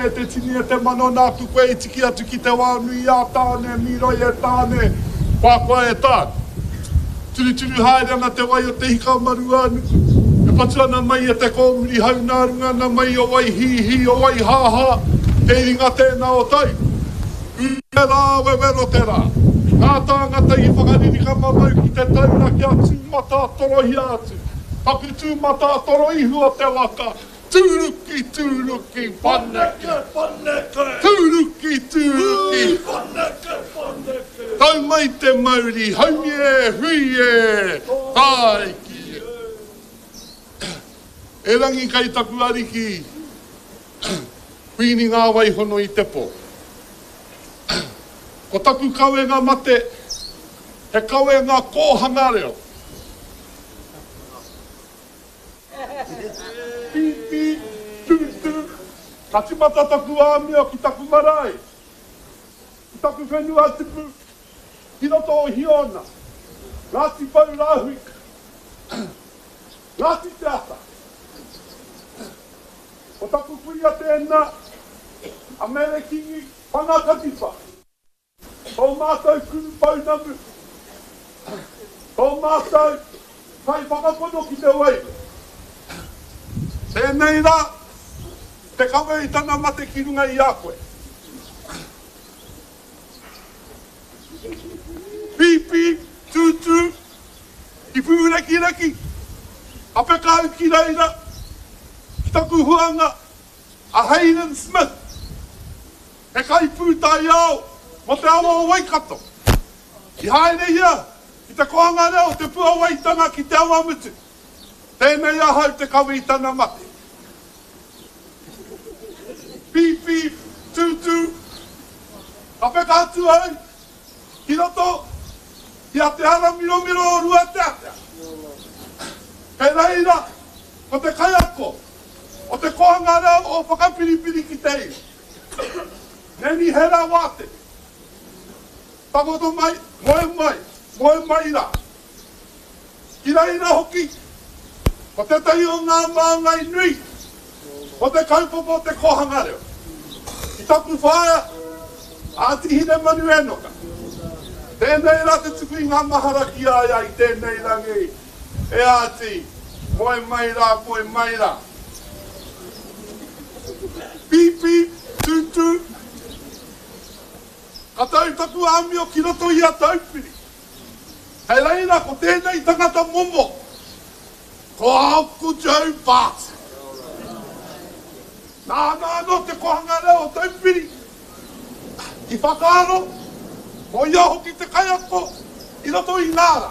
E te tini e te mano nāku koe i tiki atu ki te wā nui a Tāne, mīroi e Tāne, koakoa e Tāne. Turuturu haere ana te wai o te hika o Maruānuku, e patu ana mai e te kōmuri hau nā runga ana mai o Waihīhī, o Waihāhā, te iringa tēnā o tai. Ū te rā, wewero te rā. Ngā tāngata i whakaririka mamau ki te taura kia tūmatātorohia atu. Taku tūmatātoro ihu o te waka, Tūruki, tūruki, whanake, whanake. Tūruki, tūruki, whanake, whanake. Tau mai te mauri, haumi e, hui e, tāiki e. Erangi kai taku ariki, Kuini ngā waihono i te pō. Ko taku kawenga mate, he kawenga kōhanga reo. Pīpī, tūtū, ka timata taku āmio ki taku marae, ki taku whenua tupu, ki roto o Hiona, Ngāti Pou Rāhui, Ngāti Te Ata. Ko taku kuia tēnā, a Mere Kingi Whangakatipa. Tō mātou kuru pounamu, tō mātou kaiwhakapono ki te wairua. Tēnei rā, te kawe i tana mate ki runga i a koe. Pīpī, tūtū, ki pūrekireki, ka peka au ki reira, ki taku huanga, a Hayden Smith. He kaipūtaiao mō te awa o Waikato. I haere ia ki te kōhanga reo o Te Puawaitanga ki Te Awamutu. Tēnei ahau te kawe i tana mate. Pīpī, tūtū, ka peka atu au ki roto i a Te Ara Miromiro o Ruateatea. Kei reira ko te kaiako o te kōhanga reo o Whakapiripiri ki te iwi. Neni he ra wātea. Takoto mai, moe mai, moe mai rā. Ki reira hoki, ko tētahi o ngā māngai nui o te kaupapa o te kōhanga reo. Ki taku whaea, a Tīhinemanu Enoka. Tēnei rā te tuku i ngā mahara ki a ia i tēnei rangi, e Āti, moe mai rā, moe mai rā. Pīpī, tūtū, ka tau taku āmio ki roto i a Taupiri. Kei reira ko tēnei tangata momo, ko Uncle Joe Barton. Nāna anō te kohanga reo o Taupiri i whakaaro, ko ia hoki te kaiako i roto i ngā rā.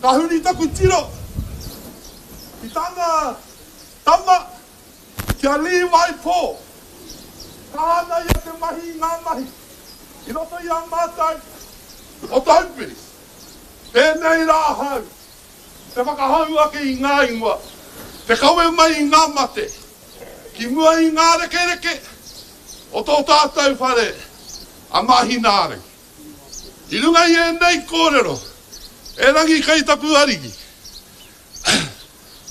Ka huri taku tiro ki tana Tama ki a Levi Paul, tāna ia te mahi i ngā mahi i roto i a mātou o Taupiri. Tēnei rā ahau te whakahou ake i ngā ingoa, te kawe mai i ngā mate ki mua i ngā rekereke o tō tātou whare a Māhinaarangi. I runga i ēnei kōrero, erangi kei taku ariki,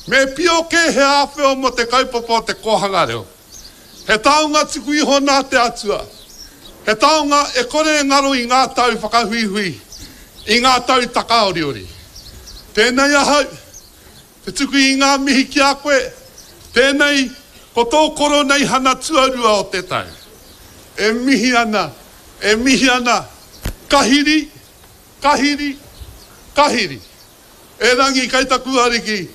Me pio kē he āwheo mō te kaupapa o te kōhanga reo. He taonga tuku iho nā te Atua. He taonga e kore e ngaro i ngā tau whakahuihui, i ngā tau takaoriori. Tēnei ahau, te tuku i ngā mihi ki a koe, tēnei ko tō koroneihana tuarua o te tau. E mihi ana, e mihi ana, ka hiri, ka hiri, ka hiri. Erangi kei taku Ariki,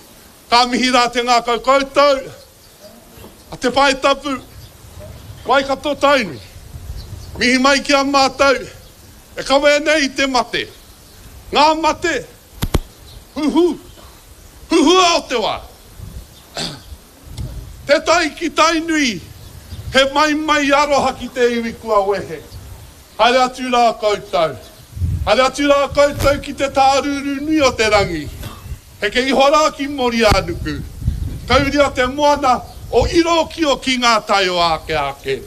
ka mihi rā te ngākau koutou a Te Pae Tapu, Waikato Tainui. Mihi mai ki a mātou e kawea nei i te mate, ngā mate huhu, huhua o te wā. Te tai ki Tainui, he maimai aroha ki te iwi kua wehe. Haere atu rā koutou. Haere atu rā koutou ki te tārūrū nui o te rangi. Heke iho rā ki Moriānuku. Kauria te moana o Irōkio ki ngā tai o āke āke.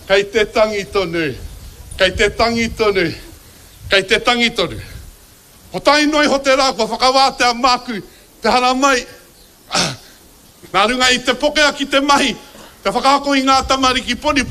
Kei te tangi tonu, kei te tangi tonu, kei te tangi tonu. Ko tae noa iho te rā kua whakawātea māku te haramai Nā runga i te pokea ki te mahi. Te whakaako i ngā tamariki poniponi.